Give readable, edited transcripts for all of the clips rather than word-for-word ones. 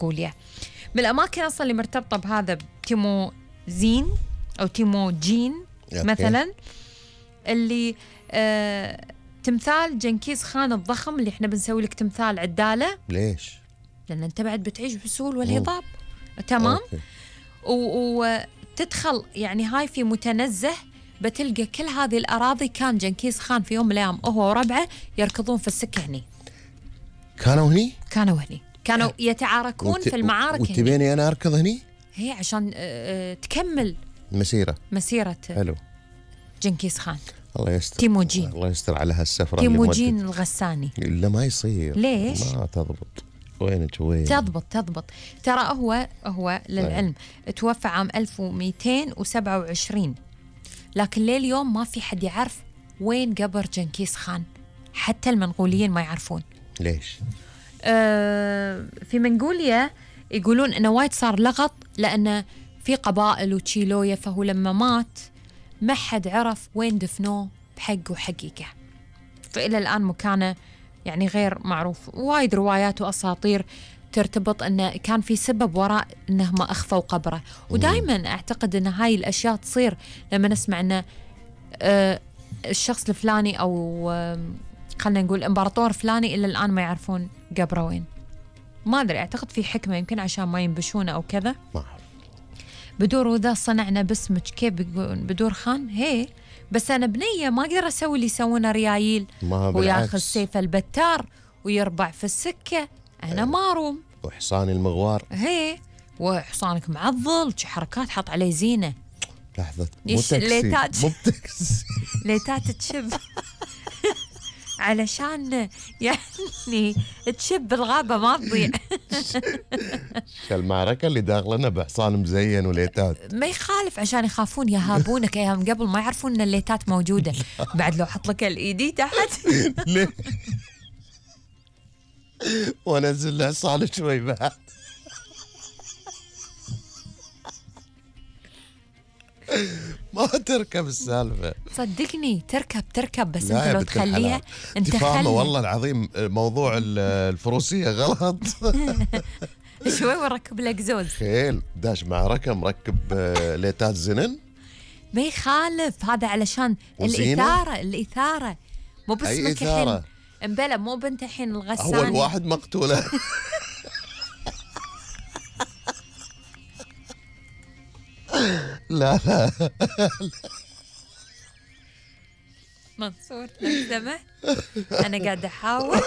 منغوليا. من الأماكن أصلا اللي مرتبطة بهذا تيموزين أو تيموجين مثلا، اللي تمثال جنكيز خان الضخم اللي احنا بنسوي لك تمثال عدالة. ليش؟ لأن أنت بعد بتعيش بالسهول والهضاب. تمام. وتدخل يعني هاي في متنزه، بتلقى كل هذه الأراضي كان جنكيز خان في يوم من الأيام هو وربعه يركضون في السكة هني. كانوا هني؟ كانوا يتعاركون في المعارك. وتبيني أنا أركض هني؟ هي عشان تكمل مسيرة حلو جنكيز خان. الله يستر. تيموجين. الله يستر على هالسفرة. تيموجين الغساني. لا ما يصير. ليش؟ ما تضبط. وينك وين؟ تضبط. ترى هو للعلم توفى عام 1227، لكن لليوم ما في حد يعرف وين قبر جنكيز خان، حتى المنغوليين ما يعرفون. ليش؟ في منغوليا يقولون انه وايد صار لغط، لأن في قبائل وتشيلويا، فهو لما مات ما حد عرف وين دفنوه بحق وحقيقة، فإلى الآن مكانه يعني غير معروف. وايد روايات وأساطير ترتبط أنه كان في سبب وراء أنهم أخفوا قبره. ودائما أعتقد أن هاي الأشياء تصير لما نسمع أن الشخص الفلاني أو خلنا نقول إمبراطور فلاني إلى الآن ما يعرفون قبره وين. ما أدري، أعتقد في حكمة يمكن عشان ما ينبشونه أو كذا. بدور وذا صنعنا باسمك، كيف بدور خان هي، بس أنا بنية ما أقدر أسوي اللي يسوونه ريايل وياخذ سيف البتار ويربع في السكة. أنا ماروم وحصان المغوار هي، وحصانك معضل حركات حط عليه زينة. لحظة، مو تاكسي ليتات تشب علشان يعني تشب الغابة ما تضيع. المعركة اللي داخلنا بحصان مزين وليتات ما يخالف، عشان يخافون يهابونك أيام قبل ما يعرفون أن الليتات موجودة. بعد لو حط لك الإيدي تحت ليه؟ ونزل له حصان شوي بعد. ما تركب السالفة. صدقني تركب بس انت لو تخليها انت فاهمة. والله العظيم موضوع الفروسية غلط. شوي وركب الاكزوز خيل داش معركة مركب ليتات زنن. ما يخالف، هذا علشان الإثارة مو باسمك الحين امبلا، مو بنت الحين الغساني أول واحد مقتولة. لا منصور لو سمحت، أنا قاعدة أحاول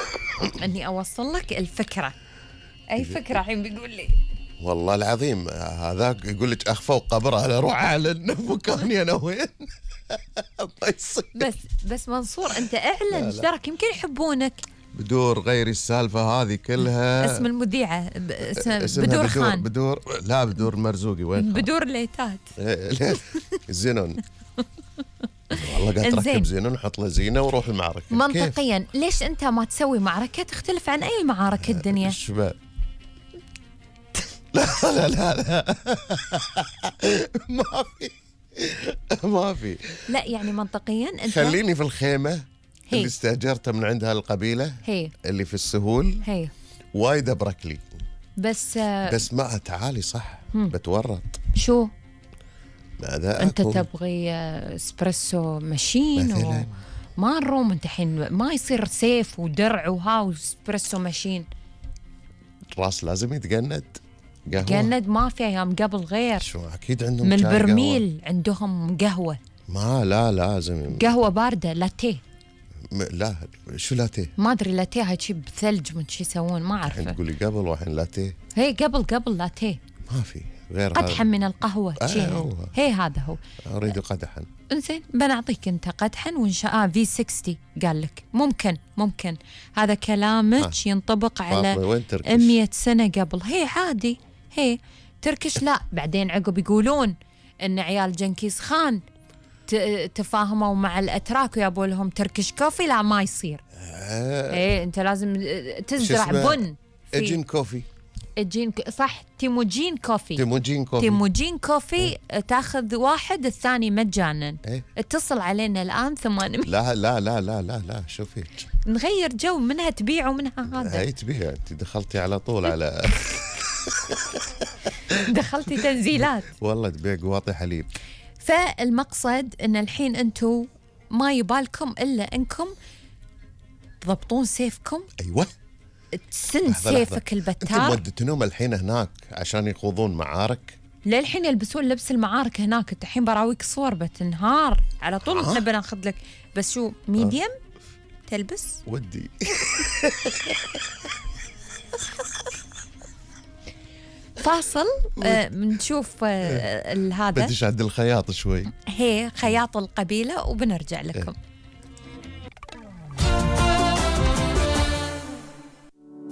أني أوصل لك الفكرة. أي فكرة الحين بيقول لي؟ والله العظيم هذاك يقول لك أخفوا قبره، أنا أروح أعلن مكاني أنا وين. بس منصور أنت أعلن، ايش دراك يمكن يحبونك. بدور غير السالفة هذه كلها. اسم المذيعة بدور خان. بدور مرزوقي وين؟ بدور ليتات. زينون. والله قاعد تركب زينون نحط له زينة وروح المعركة. منطقيا كيف؟ ليش أنت ما تسوي معركة تختلف عن أي معارك الدنيا؟ الشباب. لا ما في. لا يعني منطقيا أنت خليني في الخيمة اللي استأجرتها من عندها القبيلة اللي في السهول. وايد أبرك لي بس ما تعالي صح بتورط. شو ماذا أنت تبغي اسبريسو ماشين ما نروم أنت حين ما يصير سيف ودرع وهاو اسبريسو ماشين. الراس لازم يتجند. جند ما في أيام قبل غير. شو أكيد عندهم من البرميل عندهم قهوة. ما لا لازم قهوة باردة لاتيه. لا شو لاتيه؟ ما أدري لاتيه هاي شي بثلج من شي يسوون ما أعرفه. الحين تقولي قبل وحين لاتيه. هي قبل لاتيه. ما في غير قدحا من القهوة. هي هذا هو. أريد قدحا. إنزين بنعطيك أنت قدحا وإن شاء V60 قال لك ممكن هذا كلامك ينطبق على 100 سنة قبل. هي عادي هي تركش. لا بعدين عقب يقولون إن عيال جنكيز خان تفاهموا مع الأتراك ويابوا لهم تركش كوفي. لا ما يصير. إيه أنت لازم تزرع بن. إجين كوفي. صح تيموجين كوفي تاخذ واحد الثاني مجانا. اتصل علينا الآن 800. لا شوفي نغير جو منها تبيع ومنها هذا. هي تبيع. انت دخلتي على طول على دخلتي تنزيلات والله تبيع قواطي حليب. فالمقصد ان الحين انتم ما يبالكم الا انكم تضبطون سيفكم. ايوه، تسن سيفك البتار. انتم ودتنهم الحين هناك عشان يخوضون معارك؟ للحين يلبسون لبس المعارك هناك. انت الحين براويك صور بتنهار على طول. احنا بناخذ لك بس شو ميديم تلبس ودي. فاصل بنشوف هذا بديش عند الخياط شوي، هي خياط القبيلة وبنرجع لكم.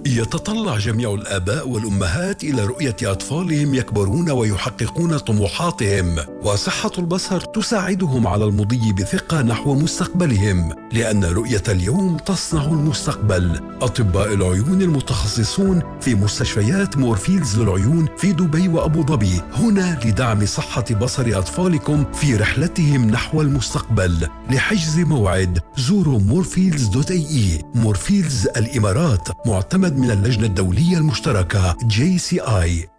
يتطلع جميع الآباء والأمهات إلى رؤية أطفالهم يكبرون ويحققون طموحاتهم، وصحة البصر تساعدهم على المضي بثقة نحو مستقبلهم، لأن رؤية اليوم تصنع المستقبل. أطباء العيون المتخصصون في مستشفيات مورفيلدز للعيون في دبي وأبو ظبي هنا لدعم صحة بصر أطفالكم في رحلتهم نحو المستقبل. لحجز موعد زوروا morfields.ae. مورفيلدز الإمارات، معتمد من اللجنة الدولية المشتركة JCI.